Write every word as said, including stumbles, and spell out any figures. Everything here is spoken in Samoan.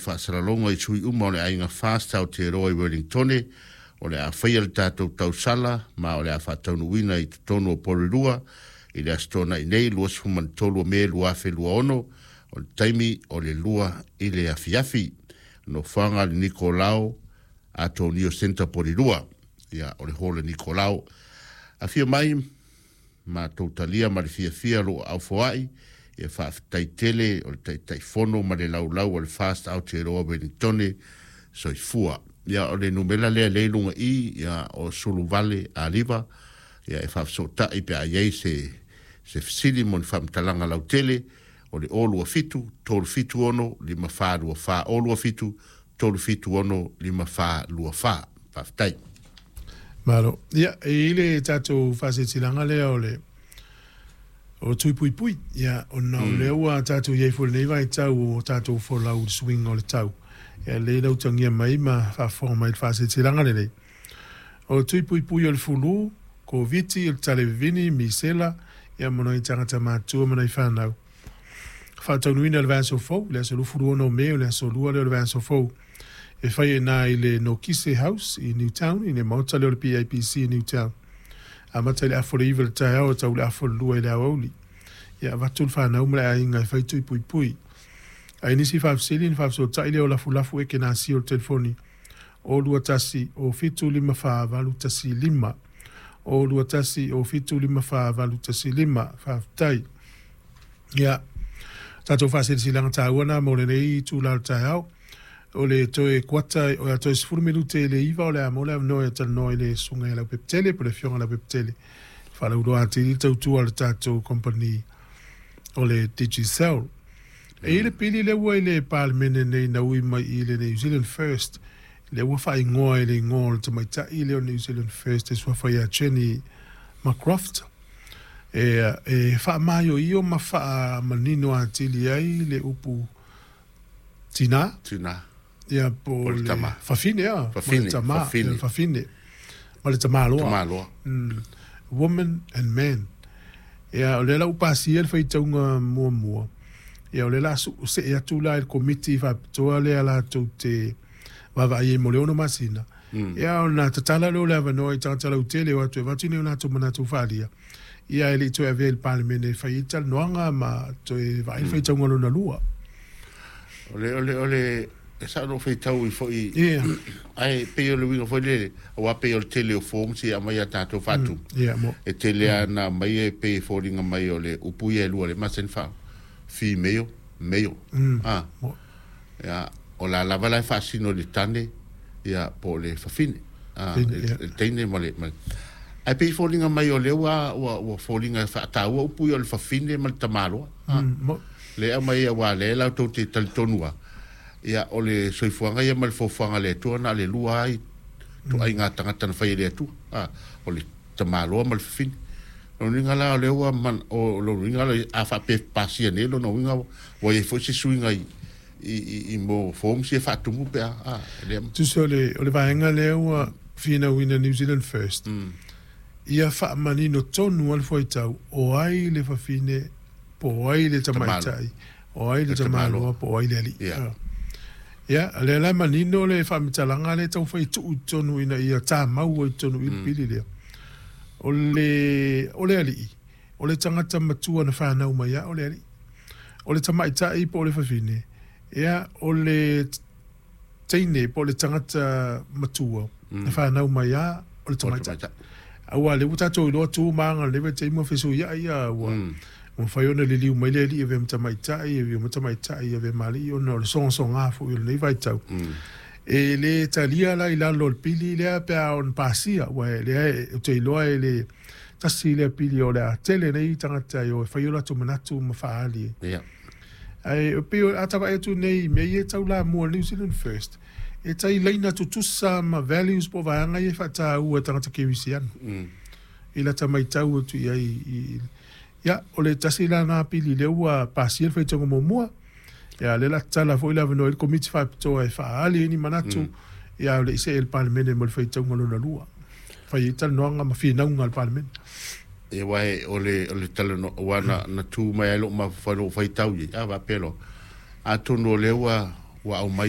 faasalalauga i sui uma o le aiga FAST Aotearoa i Wellingtone, o le a faia le tatou tausala ma o le a faataunuuina i totonu o Porirua i le Aso Toonai nei luasefulu ma le tolu o Me lua afe lua ono, o le taimi o le lua i le afiafi. Nofoaga le Nikolao Atonio Centre, Porirua. Ia, o le hall e Nikolao. Afio mai matou talia ma le fiafia loo aufoai. Ia, faafetai tele o le Taitaifono ma le laulau o le FAST Aotearoa Wellingtone. Soifua. Ia, o le numera lea lea i luga i ia o sulu vale a liva, ia e faafesootai pe a i ai se se fesili mo ni faamatalaga lautele. O le o lua fitu tolu fitu ono lima fa lua fa, o lua fitu tolu fitu ono lima fa lua fa. Faafetai. Malo. Ia, e i le tatou faasetilaga lea o le o tui pui pui. Ia, ona o lea ua tatou iai foi lenei vaitau o tatou folau i le suiga o le tau. Ia, lea lautagia mai ma faafofoga mai le faasetilaga lenei. O tui pui pui o le fulu, Koviti, o le talevivini, misela, ia mo nai tagata matua ma nai fanau. Faataunuina le vaiaso fou, le aso luafulu ono o Me, o le aso lua lea o le vaiaso fou. E fai e nā i le Nokise House i Newtown, i le maota lea o le P A P C i Newtown. Amata i le afa o le iva le taeao e tau le afa o le lua i le aoauli. Ia avatu le fanau ma le aiga e fai tui pui pui. Ai nisi faafesili ni faafesootai lea o lafulafu e ke nasi o le telefoni o lua tasi o fitu lima fa valu tasi lima, o lua tasi o fitu lima fa valu tasi lima. Faafetai. Ia, tatou faasilasilaga taua na mo lenei itulā o le taeao. O le toe kuata o le toe sefulu minute i le iva o le a mo le avanoa e talanoa i le susuga ia Leaupepetele po le afioga Leaupepetele faalauiloa atili tautua le tatou company o le Digicel. E i le pili lea ua i le Palemene nei na ui mai i le New Zealand First, lea ua faaigoa i le igoa o le tamaitai lea o New Zealand First e suafa ia Jenny McCroft e, e faamaioio ma faamanino atili ai le upu tinā. Tina. Ia, po O le le tama. Fafine a Fafine, ma le tama, fafine. Ia, fafine ma le tamaloa. Tamaloa. mm, woman and man. Ia, o lea la ua pasia le faitauga muamua. Ia, o lea la su see atu la i le komiti faapitoa lea latou te vaavaai ai mo le ono masina. Mm. Ia, ona tatala lea o le avanoa i tagata lautele o atu e avatu ni o latou manatu faaalia. Ia, e le i toe avea i le Palemene e fai ai talanoaga ma toe vaai le faitauga lona lua. O le o le o le e sa no faitau i foi Ia ai pei o le uiga foi lele aua pei o le tele o forms ia mai a tatou faatumu. Ia mo E tele ana mai e pei e foliga mai o le upu ia e lua le masani faa female, male. mm, Ah. Mo Ia, o la lava la e faasino i le tane ia po o le fafine. Ah, Fafine, le ia. le teine ma le ma ai pei foliga mai o lea ua ua ua foliga e faataua upu ia o le fafine ma le tamaloa. Ah. mm, mo Le aumai aua lea latou te talitonu a ia o le soifuaga ia ma le fofoaga le Atua na le lua ai toaiga tagata na fai e le Atua, a o le tamaloa ma le fafine. Lona uiga la o lea ua man o lona uiga la a faapea pasia nei, lona uiga ua iai foi se suiga i i i, i mo forms ia faatumu pe a a lea. Tusa o le o le vaega lea ua finauina New Zealand First. mm. Ia faamanino tonu a le fuaitau o ai le fafine po o ai le tamaitai, o ai le Le tamaloa. Tamaloa po o ai le alii. Ia. Ah. Ia, lea la manino le faamatalaga le taufai tuu i totonu ina ia tāmau ai totonu i le pili lea. O le, o le alii, o le tagata matua na fanau mai a o le alii. O le tamaitai po o le fafine, ia, o le teine po o le tagata matua na fanau mai a o le tamaitai. Tamaitai. Aua le ua tatou iloa tu ma aga le vaitaimi ua fesuiai ia ua Mm. ua mafai ona liliu mai le alii e avea ma tamaitai, e avea ma tamaitai e avea ma alii ona o le sogasoga foi o lenei vaitau. Mm. E le talia la i lalo o le pili lea pe a ona pasia, ua e lea e ou te iloa e le tasi lea pili o le a tele nei tagata e o e fai o latou manatu ma faaali. Ia. Ae o pei o a tavaai atu nei i mea ia e taulamua New Zealand First, e tai laina tutusa ma values po o vaega ia e faataua e tagata kerisiano. Mm. I lata maitau atu i ai i, ia, o le tasi la na pili lea ua pasia le faitauga muamua. Ia, lea la tatala foi le avanoa i le komiti faapitoa e faaali ai ni manatu. Mm. Ia, o le i see i le Palemene mo le faitauga lona lua. Fai ai talanoaga ma finauga a le Palemene. E wae o le o le talanoa ua na na tu mai ai lou mafaufau lou faitau i a faapea loa atonu o lea ua ua aumai.